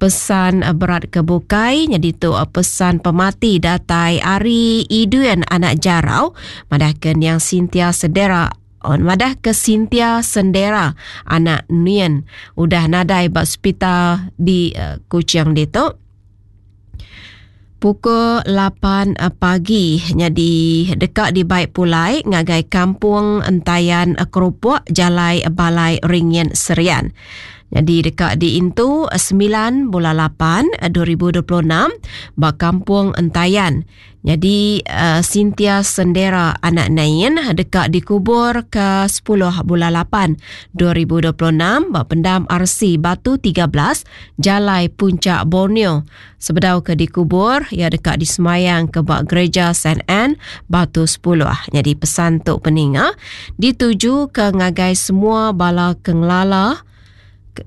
Pesan berat ke bukai nyadi tu pesan pemati datai ari Idun anak Jarau madah ke niang Cynthia Sedera on madah ke Cynthia Sendera anak Nien udah nadai ba sepital di Kuching ditu. Pukul 8 pagi nyadi deka dibai pulai ngagai Kampung Entayan Kerupok Jalai Balai Ringin Serian. Nyadi deka diintu 9 bulan 8 2026 ba Kampung Entayan. Nyadi Cynthia Sendera anak Nain deka dikubur ke 10 bulan 8 2026 ba Pendam RC Batu 13 Jalai Puncak Borneo. Sebedau ke dikubur, iya deka disemayang ke ba Gereja Saint Anne, Batu 10. Nyadi pesan tu peninga dituju ke ngagai semua bala ke ngelala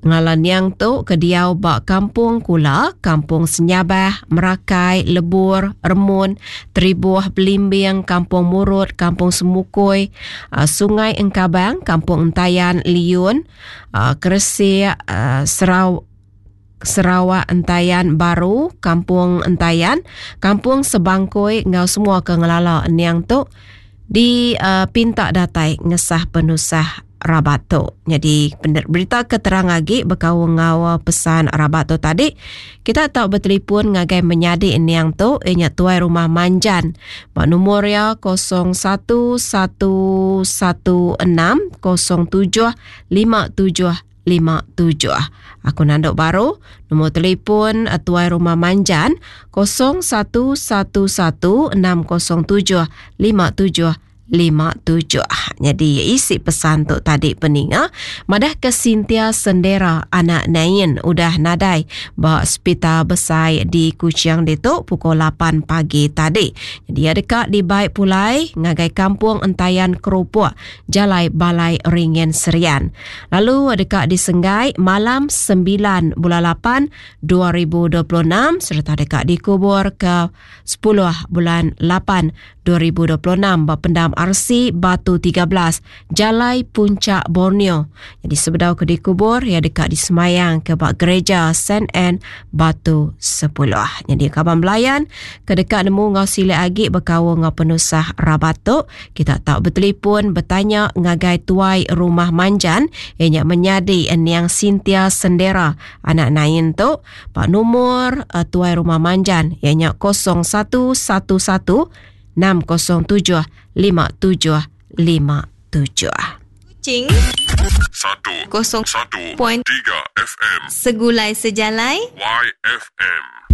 ngelala niang tu ke diau ba Kampung Kula, Kampung Senyabah, Merakai, Lebur, Remun, Teribuh, Belimbing, Kampung Murut, Kampung Semukui, Sungai Engkabang, Kampung Entayan, Liun, Keresik, Serau Sarawak Entayan Baru, Kampung Entayan, Kampung Sebangkoi enggau semua ke ngelala niang tu dipinta datai ngesah penusah rabat tu. Nyadi berita ke terang agi bekaul enggau pesan rabat tu tadi, kita tau betelefon ngagai menyadi niang tu iya nya Tuai Rumah Manjan ba numur iya 01116 07 57 57. Aku nanduk baru nombor telefon Tuai Rumah Manjan 0111607 57 57. Jadi isi pesan tu tadi peninga madah ke Cynthia Sendera anak Nain udah nadai ba sepital besai di Kuching ditu pukul 8 pagi tadi. Jadi ia deka dibai pulai ngagai kampung Entayan Kerupuk Jalai Balai Ringin Serian. Lalu deka disenggai malam 9 bulan 8 2026 sereta deka dikubur ke 10 bulan 8 2026 ba pendam RC Batu 13 Jalai Puncak Borneo. Jadi sebedau ke dikubur ia deka disemayang ke ba gereja Saint Anne Batu 10. Jadi kaban belayan ke deka nemu enggau silik agi bekaul enggau penusah rabat tu Kita tau betelipun betanya ngagai tuai rumah Manjan iya nya menyadi Niang Cynthia Sendera anak Nain tu ba numur tuai rumah Manjan iya nya 0111 607 5757. Kuching Satu kosong Satu point Tiga FM Segulai Sejalai YFM.